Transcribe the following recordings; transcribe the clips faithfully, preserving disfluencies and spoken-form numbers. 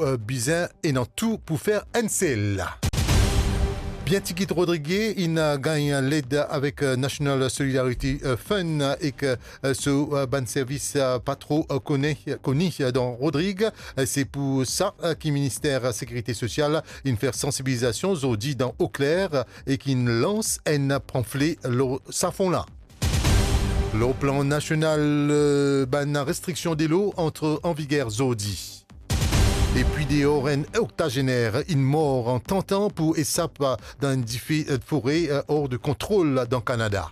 Eh, bizin ena tou pou fer enn sel. Bien tigit Rodrigue inn, eh, gagn led avek, eh, National Solidarity, eh, Fund, eh, ek, eh, so, eh, bann servis, eh, pa tro, eh, kone, koni, eh, dan Rodrig. Eh, se pou sa, eh, ki Minister Sekirite Sosial inn fer sansibilizasion zordi dan Eau Claire, eh, ek inn lans enn panfle lor sa fon la. Lor plan nasional, eh, bann restriksion delo antre an viger zordi. Epi deor, enn oktazener inn mor an tantan pou esap dan enn dife, eh, fore, eh, or de kontrol dan Kanada.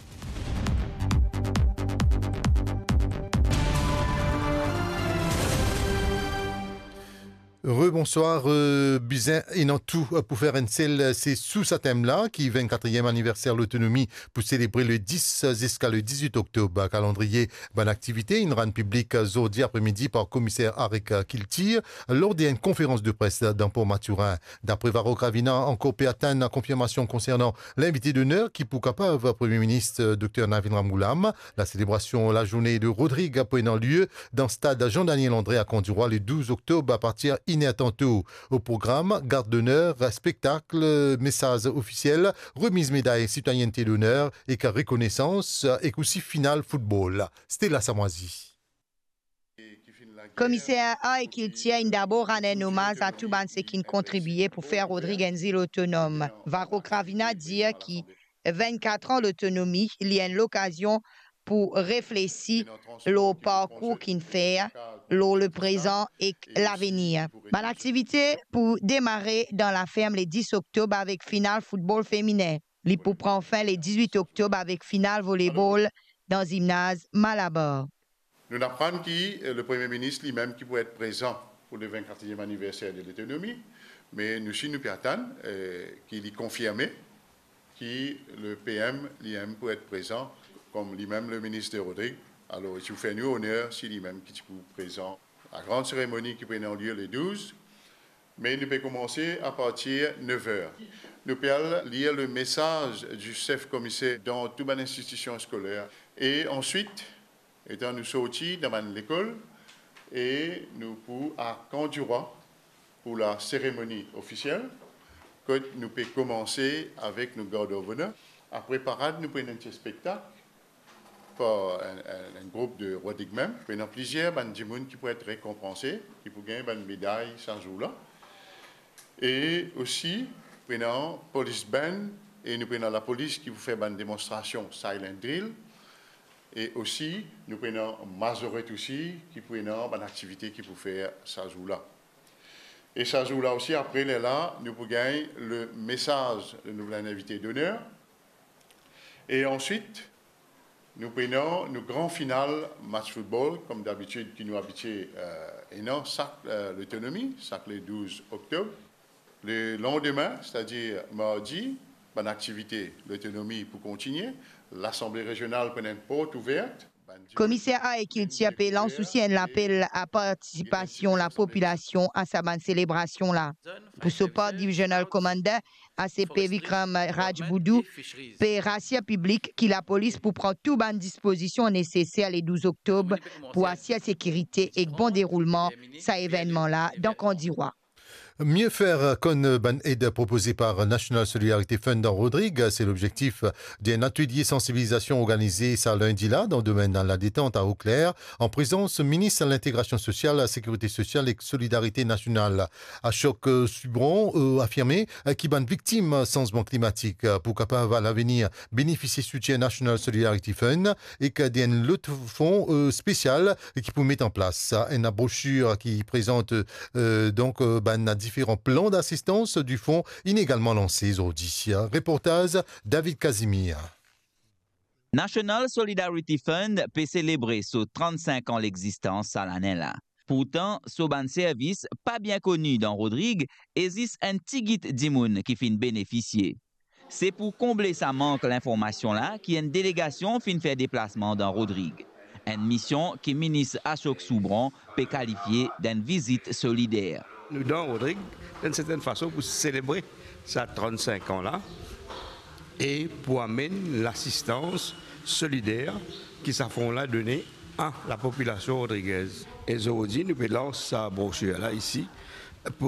Rebonswar, eh, bizin ena tou, eh, pou fer enn sel, eh, se sou sa tem la ki vennkatriem aniverser lotonomi pou selebre le dis ziska le dizuit oktob. Kalandriye bann aktivite inn rann piblik zordi apremidi par komiser Arik Kiltir lor de enn konferans de pres dan Port Mathurin. Dapre Varro Gravina, ankor pe atann konfirmasion konsernan linvite doner ki pou kapav Premie Minis Dokter Navin Ramgoolam. Laselebrasion lazourne de Rodrig pou ena lie dan stad Jean-Daniel André a Candiroi le douz oktob apartir inn er tanto. O program, gard doner, spektak, mesaz ofisiel, remiz meday sitwayennte doner ek rekonesans, ek osi final foutbol. Stella Samwazi. Komiser Ar ek Kiltir inn dabor rann enn omaz a tou bann seki'nn kontribie pou fer Rodrig enn zil otonom. Varro Gravina dir ki vennkat an lotonomi, li enn lokazion pou reflesi lor parkour ki'nn fer, lor le prezan ek lavenir. Bann aktivite pou demare dan laferm le dis oktob avek final foutbol feminen. Li pou pran fin le dizuit oktob avek final volebol dan zimnaz Malabar. Nou'nn aprann ki, eh, le Premie Minis limem ki pou et prezan pou le vennkatriem aniverser de lotonomi, me nou si nou pe atann, eh, ki li konfirme ki le P M limem pou et prezan kom limem le Minis Rodrig. Alor, ti pou fer nou oner si limem ki ti pou prezan. Lagran seremoni ki pou ena lie le douz, me nou pe koumanse apartir nev er. Nou pe al lir le mesaz di sef komiser dan tou bann institision skoler. E answit, letan nou sorti dan bann lekol, e nou pou a Candiroi pou laseremoni ofisiel, kot nou pe koumanse avek nou Guard of Honor. Apre parad, nou pou ena enn ti spektak par enn, enn, enn group de Rodrig mem. Pou ena plizier bann dimoun ki pou et rekonpanse, ki pou gagn bann meday sa zour la. E osi, pou ena police band, e nou pou ena lapolis ki pou fer bann demonstrasion silent drill. E osi, nou pou ena mazoret osi, ki pou ena bann aktivite ki pou fer sa zour la. E sa zour la osi, apre lerla, nou pou gagn le mesaz de nou bann invite doner. E answit, nou pou ena nou gran final match foutbol, kom dabitid ki nou abitie, eh, ena sak, eh, lotonomi, sak le douz oktob. Le landime, setadir mardi, bann aktivite lotonomi pou kontinie, Lasanble Rezional pou ena enn port ouver. Komiser Ar ek Kiltir pe lans osi enn lapel a partisipasion lapopilasion a sa bann selebrasion la. Pou so par, Divisional Commander, A C P Vikram Rajbudhu, pe rasir piblik ki lapolis pou pran tou bann dispozision neseser le douz oktob pou asir sekirite ek bon deroulman sa evennman la dan Candiroi. Mie fer konn bann ed propoze par National Solidarity Fund dan Rodrig, se lobzektif de enn atelie sansibilizasion organize sa lindi la dan domenn ladetant a Eau Claire, an prezans Minis Lintegrasion Sosial, Sekirite Sosial ek Solidarite Nasional. Ashok, eh, Subron, eh, afirme, eh, ki bann viktim sanzman klimatik, eh, pou kapav alavenir benefisie soutien National Solidarity Fund ek de enn lot fon, eh, spesial ki pou met an plas. Enn brosir ki prezant, eh, donk, eh, bann diferan plan dasistans di fon inn egalman lanse zordi. Reportaz David Casimir. National Solidarity Fund pe selebre so trannsink an lexistans sa lane la. Pourtan, so bann servis pa bien koni dan Rodrig e zis enn tigit dimoun ki finn benefisie. Se pou konble sa mank linformasion la ki enn delegasion finn fer deplasman dan Rodrig. Enn mision ki Minis Ashok Subron pe kalifie d'enn vizit solider. Nou dan Rodrig, d'enn sertenn fason, pou selebre sa trannsink an la e pou amenn lasistans solider ki sa fon la done a lapopilasion rodrigez. E zordi, nou pe lans sa brosir la isi,